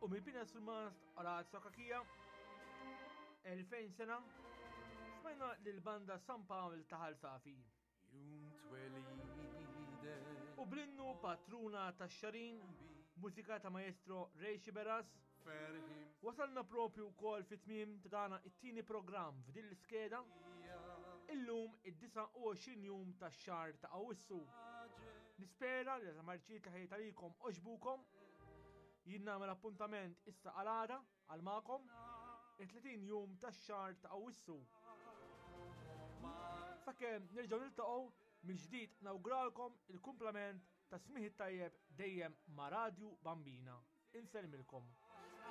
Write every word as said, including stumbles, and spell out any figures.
U mill-Pina Surmast Orazio Cachia, elfejn sena, smajna lil-banda San Pawl ta' Ħal Safi. Jum twelidek U bl-innu Patruna tax-Xagħrin, mużika ta' maestro Ray Sciberras, ferħi wasalna propju wkoll fit-tmiem ta' dana it-tieni programm f'din l-iskeda, illum id-disgħa u għoxrin jum tax-xahar ta' Awwissu. Nispera li l-marċijiet li ħejjejt għalikom għoġbukom. Jien nagħmel appuntament issa għal għada għal magħkom it-tletin jum tax-xahar ta' Awwissu. Sakemm nerġgħu niltaqgħu mill-ġdid, nawguralkom il-kumplament ta' smigħ it-tajjeb dejjem ma' Radju Bambina. Insellmilkom.